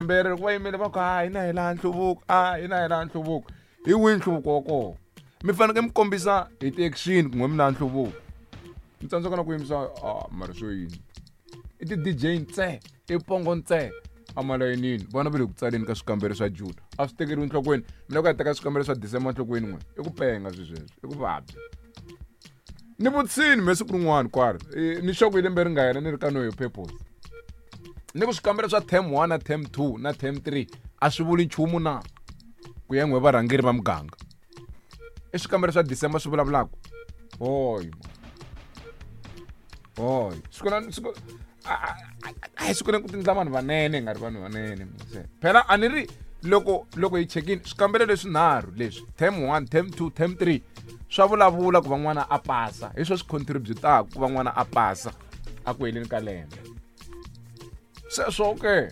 Swikambelo loko va yimele va ku a hina hi laha nhluvuko, a hina hi laha nhluvuko. Hi wihi nhluvuko wa kona? Mi fanekele mi kombisa hi ti-action ku n'we mi laha nhluvuko. Mi tsandzeka na ku yimisa a mara swo yini? I ti-DJ ntse, i pongo ntse emalayinini. Vana va le ku tsaleni ka swikambelo swa June. A swi tekeriwi enhlokweni. Mi lava ku ya teka swikambelo swa December enhlokweni n'we. I ku penga swi sweswo, i ku vabya. Ni vutisini me siku rin'wana kwala ni sure ku hi lembe ri nga hela ni ri ka no hi purpose. Ni ku swikambelo swa term 1 na term 2 na term 3 a swi vuli nchumu na ku ya n'we varhangeri va muganga. I swikambelo swa December swi vulavulaka. Hoy. Hoy. Siku na siku a hi siku ku tindla vanhu vanene hi nga ri vanhu vanene. Phela a ni ri loko loko hi chekini swikambelo leswinharhu leswi term 1, term 2, term 3 swa vulavula ku va n'wana a pasa. Hi swo swi contributaka ku va n'wana a pasa a ku heleni ka lembe. Sweswo ke.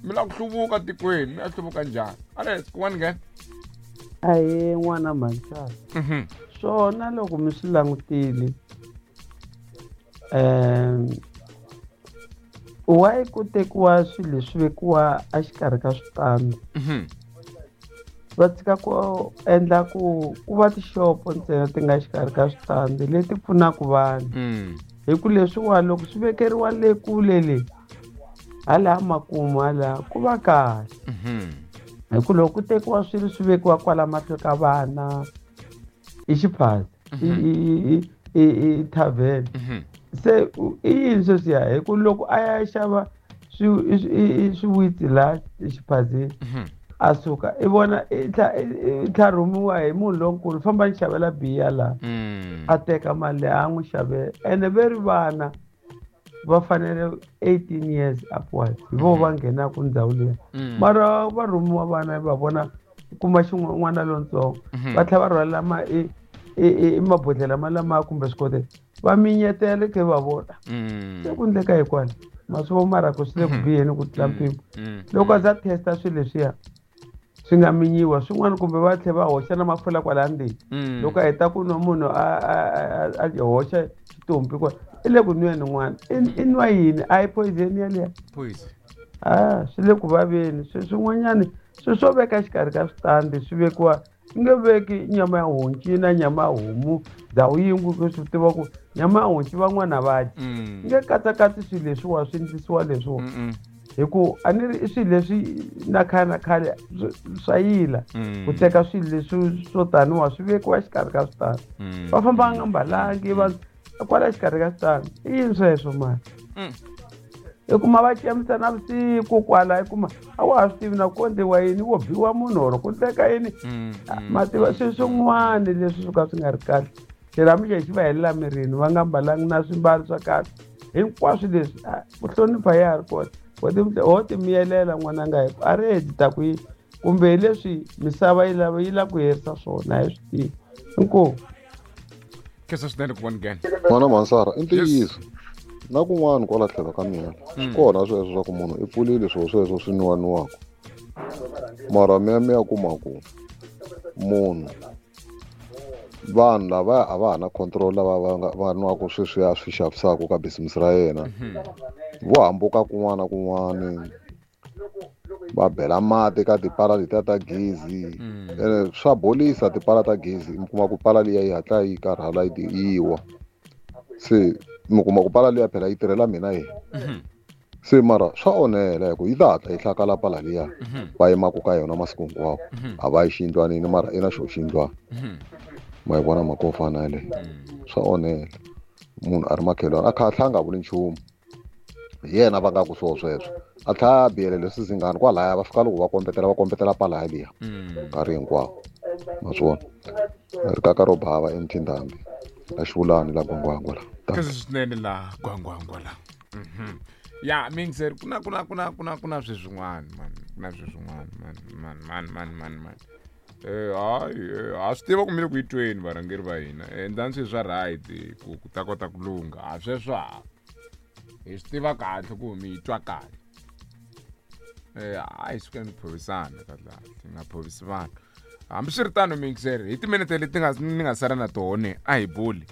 Mi lava ku hluvuka tikweni, mi ya hluvuka njhani? Alex, kun'wana nghena. Ahee n'wana mhanisana. Swona loko mi swi langutile why ku tekiwa swilo leswi vekiwa exikarhi ka switandi? Va tshika ku endla ku ku va tixopo ntsena ti nga xikarhi ka switandi leti pfunaka vanhu. Hi ku leswiwa loko swi vekeriwa le kule le hala makumu hala ku va kahle. Hi ku loko ku tekiwa swilo swi vekiwa kwala mahlo ka vana i xiphaza, i tavern. Se i yini sweswiya? Hi ku loko a ya xava swiwitsi laha xiphazeni a suka i vona i tlha rhumiwa hi munhu lonkulu, famba ni xavela biya laha. A teka mali leyi a n'wi xavela. Ene ve ri vana va fanele 18 years upwards hi vo va nghenaka ndhawu liya. Mara va rhumiwa vana va vona kuma xin'wana lontsongo va tlhela va rhwalela ma i mabodhlela ma lama kumbe swikotela va minyetela ke va vona. Se ku endleka hi kwala ma swi vona mara ku swi le ku biheni ku tlula mpimo. Loko a za testa swilo leswiya swi nga minyiwa swin'wana kumbe va tlhela va hoxa na mafurha kwala ndzeni. Loko a heta ku nwa munhu a hoxa xitompi kwala i le ku nweni n'wana. I nwa yini? A hi poison yaliya? Poison. Swi le ku vaveni. Swin'wanyani swilo swo veka xikarhi ka switandi swi vekiwa i nge veki nyama ya honci na nyama ya homu ndhawu yin'we ku swi tiva ku nyama ya honci van'wana va dya. I nge katsakatsi swilo leswiwa swi endlisiwa leswiwa. Hi ku a ni ri i swilo leswi na khale na khale swa yila ku teka swilo leswi swo taniwa swi vekiwa xikarhi ka switandi. Va famba va nga mbalangi va kwala xikarhi ka switandi. I yini sweswo mani? I kuma va cemisa na vusiku kwala, i kuma a wa ha swi tivi na ku endliwa yini, wo biwa munhu or ku endleka yini. Ma tiva swilo swin'wana leswi swo ka swi nga ri kahle. Xirhamu lexi xi va helela mirini, va nga mbalangi na swimbalo swa kahle. Hinkwaswo leswi, ku hlonipha ya ha ri kona. Ho ti miyelela n'wananga hi ku a ri heti ta ku yini, kumbe hi leswi misava yi lava yi lava ku herisa swona, a hi swi tivi. Inkomu. Khensa swinene ku vona nghena. N'wana Mansara, i ntiyiso. Na kun'wana kwala tlhelo ka mina, swi kona sweswo swa ku munhu i pfulile swilo sweswo swi nwiwaniwaka. Mara mi ya mi ya kuma ku munhu vanhu lava a va ha na control lava va nga va nwaka sweswiya swi xavisaka ka business ra yena. Vo hambuka kun'wana na kun'wana, va bela mati ka tipala letiya ta gezi. Ene swa bolisa tipala ta gezi, mi kuma ku pala liya yi hatla yi karhala yi wa. Se mi kuma ku pala liya phela yi tirhela mina yi. Se mara swa onhela hi ku yi ta hatla yi hlakala pala liya va yimaka ka yona masiku hinkwawo. A va yi xiyindlwanini mara i na xo xiyindlwana. Ma yi vona mhaka yo fana yaleyo. Swa onhela. Munhu a ri makhelwani a kha a tlhela a nga vuli nchumu. Hi yena va nga ku swo sweswo. A tlhela a biyelele swizinghana kwalaya va fika loko va kombetela va kombetela pala yaliya. Nkarhi hinkwawo. Ma swi vona? Rikaka ro bava eMthindambi. La Xivulani la Gwangwangwa la. Khensa swinene la Gwangwangwa la. Ya, mingizeri ku na ku na ku na ku na ku na sweswin'wana man, ku na sweswin'wana man man man man man man. Hayi, ha swi tiva ku mi le ku yi tweni varhangeri va hina. Endlani swilo swa right ku ku ta kota ku lungha. A sweswo ha. Hi swi tiva kahle ku mi yi twa kahle. A hi sukeni ku phovisana kahle kahle, hi nga phovisi vanhu. Hambiswiritano mingizeri, hi timinete leti nga ni nga sala na tona a hi buli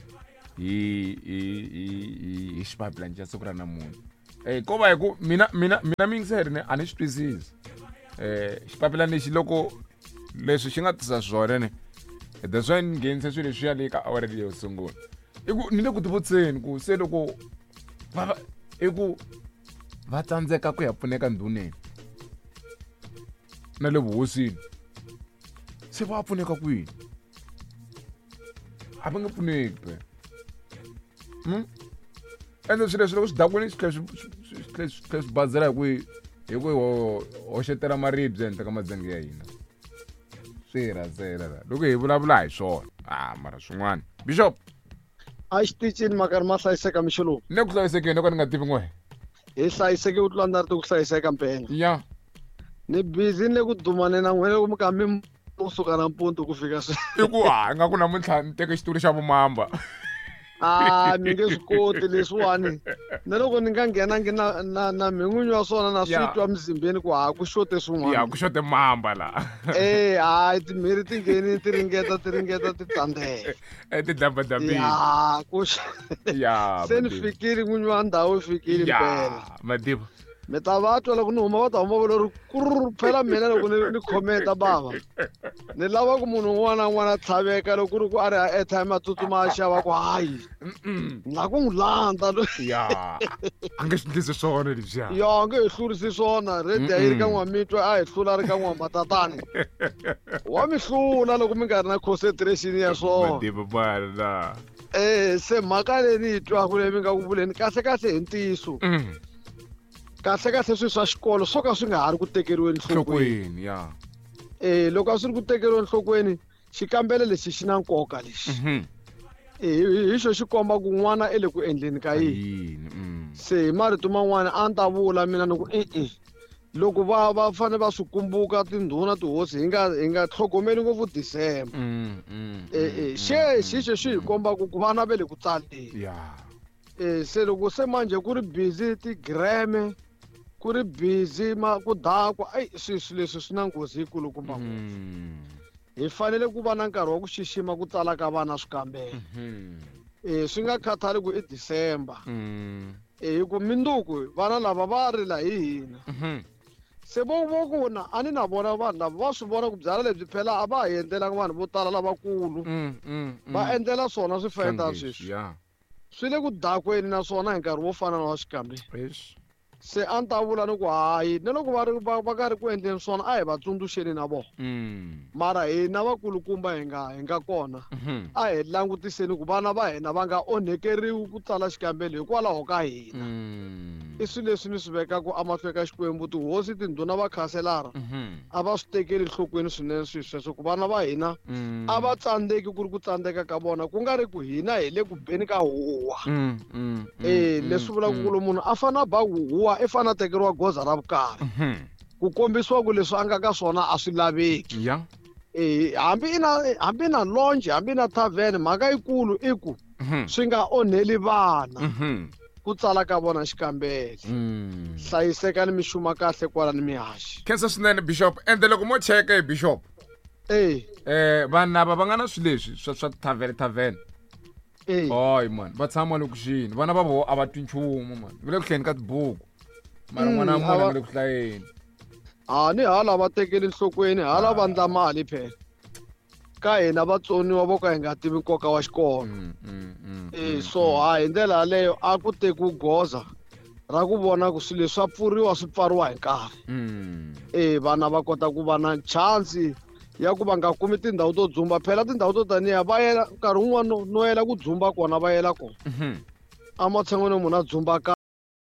hi hi hi hi hi xibabelani xa siku ra namuntlha. Ko va hi ku mina mina mina miyingiseri ni a ni swi twisisi. Xipapilani lexi loko leswi xi nga tisa swona ni that's why ni nghenise swilo leswiya le ka awara leyo sungula. I ku ni le ku tivutiseni ku se loko va i ku va tsandzeka ku ya pfuneka ndhuneni na le vuhosini se va pfuneka kwini? A va nge pfuneki phela. Ende swilo leswi loko swi dakwini swi tlhela swi swi bazela hi ku hoxetela maribye ehenhla ka madzenge ya hina. Swi hi rhandzela la loko hi vulavula hi swona. Mara swin'wana Bishop a xitichini makarhi ma hlayiseka mixo lowu. Ni ku hlayisekeni loko ni nga tivi n'we. Hi hlayiseke ku tlula ndzi ri ku hlayiseka mpela. Ya. Ni busy ni le ku dumane na n'wina loko mi ka mi kusuka nampundzu ku fika sweswi. I ku ha nga ku namuntlha ni teke xitulu xa vumamba. Mi nge swi koti leswiwani. Na loko ni nga nghenangi na na na min'winyi wa swona na swi twa mzimbeni ku ha ku xote swin'wana. Ya ku xote mamba la. Hayi timhiri ti ngheni ti ringeta ti ringeta ti tsandzeka. Ti dlambadlambile. Ya ku ya. Se ni fikile n'winyi wa ndhawu fikile mpela. Madiba. Mi ta va twa loko ni huma va ta huma va ri kurr phela mina loko ni commenta bava. Ni lava ku munhu un'wana na un'wana a tlhaveka loko ku ri ku a ri airtime a tsutsuma a xava ku hayi. Ni lava ku n'wi landza loyi. Ya. A nge swi endlisi swona leswiya. Ya a nge hi hlurisi swona. Redi a yi ri ka N'wamitwa a hi hlula ri ka N'wamatatani. Wa mi hlula loko mi nga ri na concentration ya swona. Madiba bana. Se mhaka leyi ni yi twaku leyi mi nga ku vuleni kahle kahle hi ntiyiso. Kahle kahle swilo swa xikolo swo ka swi nga ha ri ku tekeriweni nhlokweni. Ya. Loko a swi ri ku tekeriweni nhlokweni xikambelo lexi xi na nkoka lexi. Hi xo xi komba ku n'wana i le ku endleni ka yini. Se hi marito man'wana a ni ta vula mina ni ku e-e. Loko va fanele va swi kumbuka tindhuna tihosi hi nga tlhogomeli ngopfu December. Xe xixo xi hi komba ku vana va le ku tsaleni. Ya. Se loko se manje ku ri busy ti-gram ku ri busy ma ku dakwa ai swilo leswi swi na nghozi yikulukumba ngopfu. Hi fanele ku va na nkarhi wa ku xixima ku tsala ka vana swikambelo. Swi nga khathali ku i December. Hi ku minduku vana lava va rila hi hina. Se vo ku na a ni na vona vanhu lava va swi vona ku byala lebyi phela a va hi endlelanga vanhu vo tala lavakulu. Va endlela swona swifayetana sweswi. Swi le ku dakweni naswona hi nkarhi wo fana na wa xikambelo. Se a ni ta vula ni ku hayi na loko va ri va karhi ku endleni swona a hi va tsundzuxeni na vona. Mara hina vakulukumba hi nga kona a hi langutiseni ku vana va hina va nga onhekeriwi ku tsala xikambelo hikwalaho ka hina. I swilo leswi ni swi vekaka emahlweni ka Xikwembu tihosi tindhuna va khanselara a va swi tekeli enhlokweni swinene swilo sweswo ku vana va hina a va tsandzeki ku ri ku tsandzeka ka vona ku nga ri ku hina hi le ku beni ka huwa. Leswi vulaka ku loko munhu a fane a ba huwa i fane a tekeriwa goza ra vukarhi. Ku kombisiwa ku leswi a nga ka swona a swi laveki. Hambi na lounge hambi na tavern mhaka yikulu i ku swi nga onheli vana. Ku tsala ka vona xikambelo. Hlayiseka ni mixuma kahle kwala ni mihaxi. Khensa swinene Bishop. Ende loko mo cheka hi Bishop. Vanhu lava va nga na swilo leswi swa tavern. Hayi man, va tshama lokuxini. Vana va vona a va twi nchumu man. Va le ku hlayeni ka tibuku. Mara n'wana wa munhu a nga le ku hlayeni. Ni hala va tekeli nhlokweni, hala va ndla mali phela. Ka hina vatsoniwa vo ka hi nga tivi nkoka wa xikolo. So ha hi ndlela yaleyo a ku tekiwi goza ra ku vona ku swilo leswi swa pfuriwa swi pfariwa hi nkarhi. Vana va kota ku va na chance ya ku va nga kumi tindhawu to dzumba. Phela tindhawu to taniya va yela nkarhi wun'wana no yela ku dzumba kona va yela kona. Ematshan'weni munhu a dzumba ka